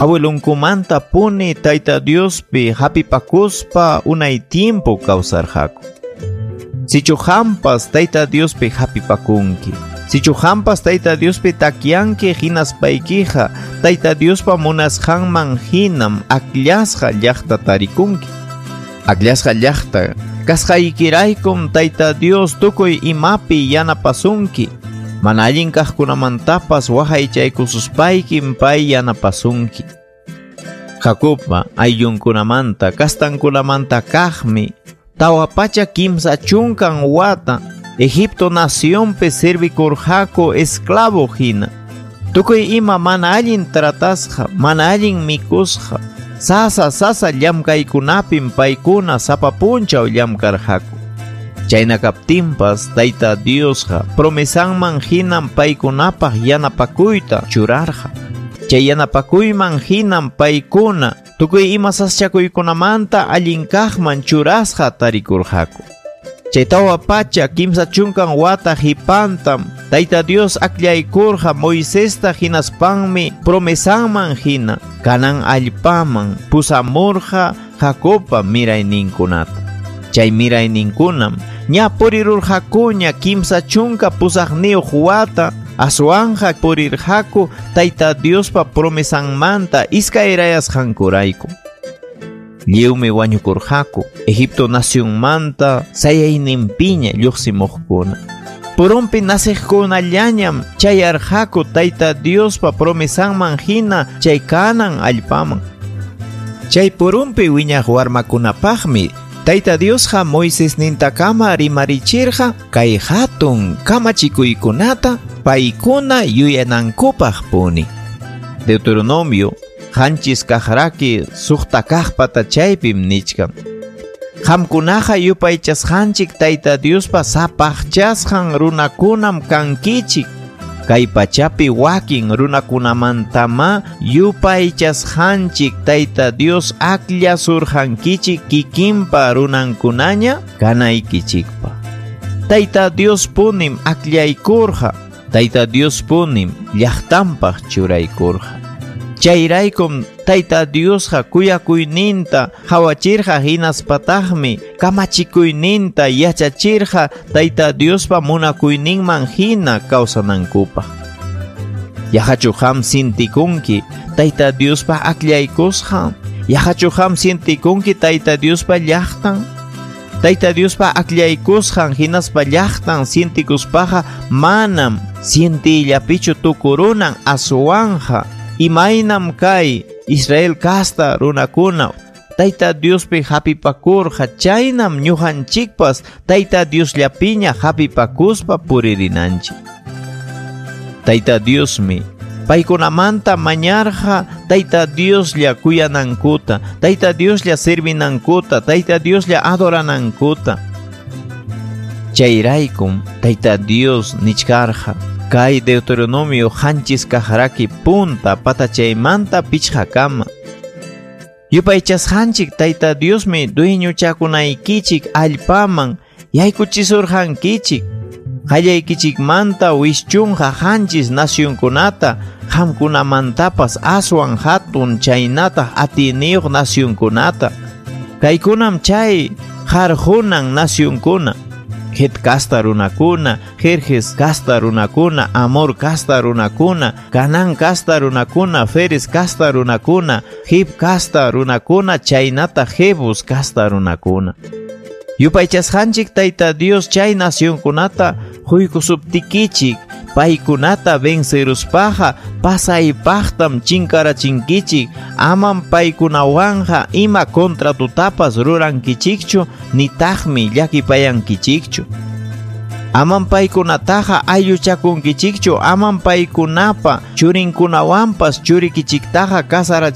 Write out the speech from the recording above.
Abuelunkumanta puni Tayta Diospi hapipakuspa unay tiempo kawsarqaku. Sichu hampas Tayta Diospi hapipakunki. Sichu hampas Tayta Diospi takyanki hinaspaykiqa Tayta Diospa munasqanman hinam akllasqa llaqta tarikunki. Akllasqa llaqta kasqaykiraykum Tayta Dios tukuy imapi yanapasunki. Mana allin kaqkunamantapas waqaychaykususpaykim pay yanapasunki. Jacobpa ayllunkunamanta kastankunamanta kaqmi 430 wata Egipto nacionpi servikurqaku esclavo hina. Tukuy ima mana allin tratasqa, mana allin mikusqa, sasa sasa llamkaykunapim paykuna sapa punchaw llamkarqaku. Chayna kaptinpas Tayta Diosqa promesanman hinam paykunapaq yanapakuyta churarqa. Chay yanapakuyman hinam paykuna tukuy ima sasachakuykunamanta allin kaqman churasqa tarikurqaku. Chay 430 wata hipantam Tayta Dios akllaykurqa Moisesta hinaspanmi promesanman hina Canaán allpaman pusamurqa Jacobpa mirayninkunata. Chay mirayninkunam ña purirurqakuña 38 wata aswanja purirqaku Tayta Diospa promesanmanta iskayrayasqankurayku. Lliwmi wañukurqaku Egipto nacionmanta sayayninpiña lluqsimuqkuna. Purunpi naciqkunallañam chayarqaku Tayta Diospa promesanman hina chay Canaán allpaman. Chay purunpi wiñaq warmakunapaqmi Tayta Diosqa Moisesnintakama rimarichirqa kay hatun kamachikuykunata paykuna yuyanankupaq puni. Deuteronomio 7 kaqraki 6 kaq patachaypim nichkan. Qamkunaqa yupaychasqanchik Tayta Diospa sapaqchasqan runakunam kankichik. Kay pachapi wakin runakunamantama yupaychasqanchik Tayta Dios akllasurqankichik kikinpa runankunaña kanaykichikpa. Tayta Dios punim akllaykurqa, Tayta Dios punim llaqtanpaq churaykurqa. Chayraykum Tayta Diosqa kuyakuyninta hawachirqa hinaspataqmi kamachikuyninta yachachirqa Tayta Diospa munakuyninman hina kawsanankupaq. Yaqachu qam sintikunki Tayta Diospa akllaykusqan? Yaqachu qam sintikunki Tayta Diospa llaqtan? Tayta Diospa akllaykusqan hinaspa llaqtan sintikuspaqa manam sintiyllapichu tukurunan aswanja. Imaynam kay Israel kasta runakuna Tayta Diospi hapipakurqa chaynam ñuqanchikpas Tayta Diosllapiña hapipakuspa puririnanchik. Tayta Diosmi paykunamanta mañarqa Tayta Dioslla kuyanankuta, Tayta Dioslla servinankuta, Tayta Dioslla adoranankuta. Chayraykum Tayta Dios nichkarqa kay Deuteronomio 7 kaqraki punta patachaymanta 5 kama. Yupaychasqanchik Tayta Diosmi dueñochakunaykichik allpaman yaykuchisurqankichik. Qallaykichikmanta wischunqa 7 nacionkunata, qamkunamantapas aswan hatun chaynataq atiyniyuq nacionkunata. Kaykunam chay qarqunan nacionkuna. Het kasta runakuna, Jerjes kasta runakuna, Amor kasta runakuna, Canaán kasta runakuna, Feres kasta runakuna, Hib kasta runakuna, chaynata Jebus kasta runakuna. Yupaychasqanchik Tayta Dios chay nacionkunata huykusuptikichik, paykunata venceruspaqa pasaypaqtam chinkarachinkichik, amam paykunawanja ima contratutapas rurankichikchu, nitaqmi llakipayankichikchu. Amam paykunataqa aylluchakunkichikchu, amam paykunapa churinkunawanpas churikichiktaqa